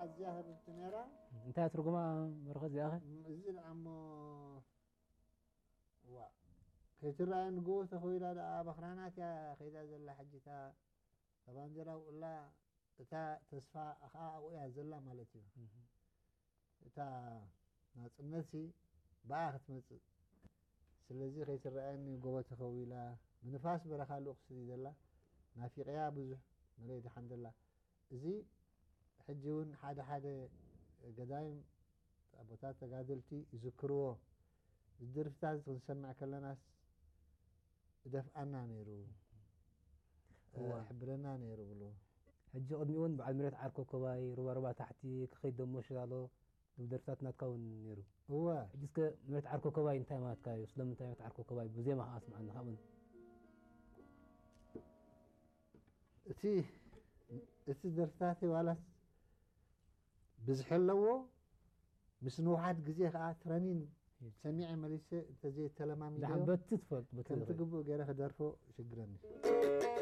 ኣዝያ ህብብቲ ነይራ። እንታይ ትርጉማ መርኸ እዚኣ ኸ? እዚ ደኣ እሞ ዋ ከይትረኣየኒ ጎቦ ተኸዊላ ደኣ በኽራናት እያ ከይዳ ዘላ ሕጂ እታ እታ ባንዴራ ውላ እታ ተስፋ ከዓ ኣብኡ እያ ዘላ ማለት እዩ። እታ ናፅነት ሲ ብኣ ክትመፅእ ስለዚ ከይትረኣየኒ ጎቦ ተኸዊላ ብንፋስ በረኻ ልኡኽ ስዲ ዘላ ናፊቀያ ብዙሕ መለይ ደሓን ዘላ እዚ ሕጂ እውን ሓደ ሓደ ገዳይም ኣቦታት ተጋደልቲ ይዝክርዎ ዝድርፍታት ክንሰምዕ ከለናስ እደፍኣና ነይሩ ሕብረና ነይሩ ብሉ ሕጂ ቅድሚኡ እውን በዓል ምሬት ዓር ኮኮባይ ሩባ ሩባ ታሕቲ ክኸይድ ደሞ ሽላሎ ዝብል ደርፍታት ናትካ እውን ነይሩ እወ ሕጂ እስከ ምሬት ዓር ኮኮባይ እንታይ ማለትካ እዩ ስለምንታይ ምሬት ዓር ኮኮባይ ብዜማ ከዓ ስምዓኒ ካብኡን እቲ እቲ ደርፍታተይ ዋላስ ብዝሒ ኣለዎ ምስ ንውሓት ግዜ ከዓ ትረኒን ሰሚዐ መሊሰ እንተዘይተለማሚዶ ዳሓን በቲ ትፈልጥ በቲ ከምቲ ትኽእል። ግቡእ ገይረ ክደርፎ ይሽግረኒ